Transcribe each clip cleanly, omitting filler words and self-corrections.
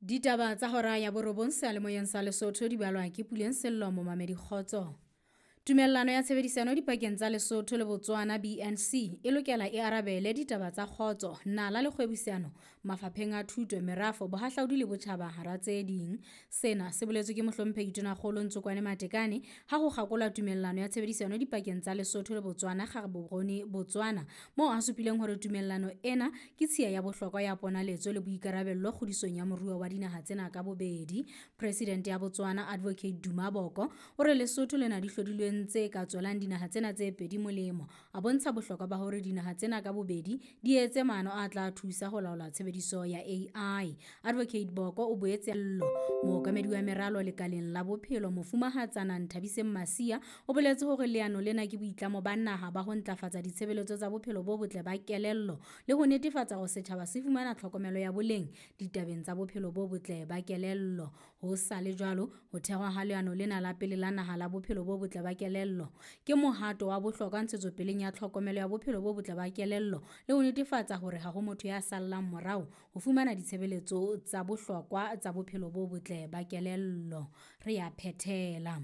Ditaba tsa hora ya borobong seyalemoyeng sa Lesotho di balwa ke Puleng Sello momamedi kgotso. Tumellano ya tshebedisano dipakeng tsa Lesotho le Botswana BNC e lokela e arabele ditaba tsa kgotso, nala le kgwebisano mafapheng a thuto, merafo, bohahlaudi le botjhaba hara tse ding. Sena se boletswe ke mohlomphehi Tonakgolo Ntsokoane Matekane ha ho kgakolwa tumellano ya tshebedisano dipakeng tsa Lesotho le Botswana Gaborone, Botswana, moo a supileng hore tumellano ena ke tshiya ya bohlokwa ya ponaletso le boikarabello kgodisong ya moruo wa dinaha tsena ka bobedi. Presidente ya Botswana Advocate Duma Boko o re Lesotho le na di hlodilweng tse ka tswelang dinaha tsena tse pedi molemo. A bontsha bohlokwa ba hore dinaha tsena ka bobedi di etse maano a tla thusa ho laola tshebediso ya AI. Advocate Boko o boetse llo mookamedi wa meralo lekaleng la bophelo mofumahatsana Nthabiseng Masia o boletse hore leano lena ke boitlamo ba naha ba ho ntlafatsa ditshebeletso tsa bophelo bo botle ba kelello le ho netefatsa hore setjhaba se fumana tlhokomelo ya boleng ditabeng tsa bophelo bo botle ba kelello. Ho sa le jwalo, ho thehwa ha leano lena la pele la naha la bophelo bo botle ba kelello ke mohato wa bohlokwa ntshetsopeleng ya tlhokomelo ya bophelo bo botle ba kelello le ho netefatsa hore ha ho motho ya sallang morao ho fumana ditshebeletso tsa bohlokwa tsa bophelo bo botle ba kelello. Re a phethela.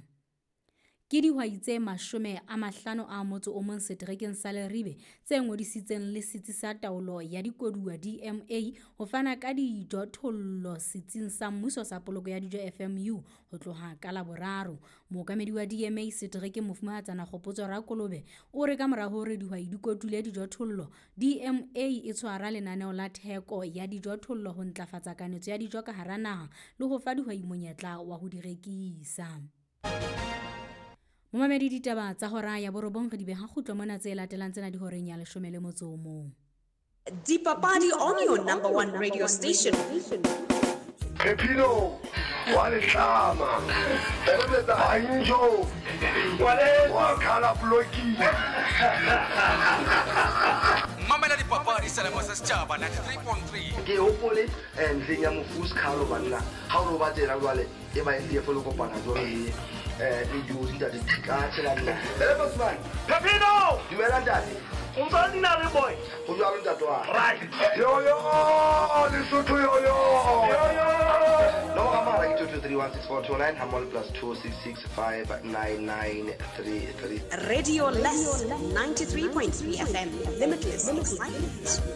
Ke dihwai tse 51 seterekeng sa Leribe tse ngodisitseng le Setsi sa Taolo ya Dikoduwa DMA ho fana ka dijothollo Setsing sa Mmuso sa Poloko ya Dijo FMU ho tloha ka Laboraro. Mookamedi wa DMA seterekeng Mofumahatsana Kgopotso Rakolobe o re ka mora hore dihwai di kotule dijothollo, DMA e tshwara lenaneo la theko ya dijothollo ho ntlafatsa kanetso ya dijo ka hara naha le ho fa dihwai monyetla wa ho di rekisa. Momamedi ditaba tsa hora ya borobong re di beha kgutlo mona tse latelang tsena di horeng ya 11. Dipapadi on your number one radio station. Phephino wa letlama Banjo wa khala blocking. Mamela dipapadi selemo sa setjhaba 93.3. Ke hopole ntlheng ya mofu Skhalo banna ha o ba tsena jwale e ba e le kopana jwale le le dijo ntate ka tshela nna. Ele Bosman. Phephino! Dumela ntate. O ntse nna le boy. Ho jwalo ntate wa. Right. Yo yo Lesotho yo yo. Yo yo. Nomoro ya mohala ke 2231649 hammoho le +266 59933. Radio Less 93.3 FM. Limitless excitement.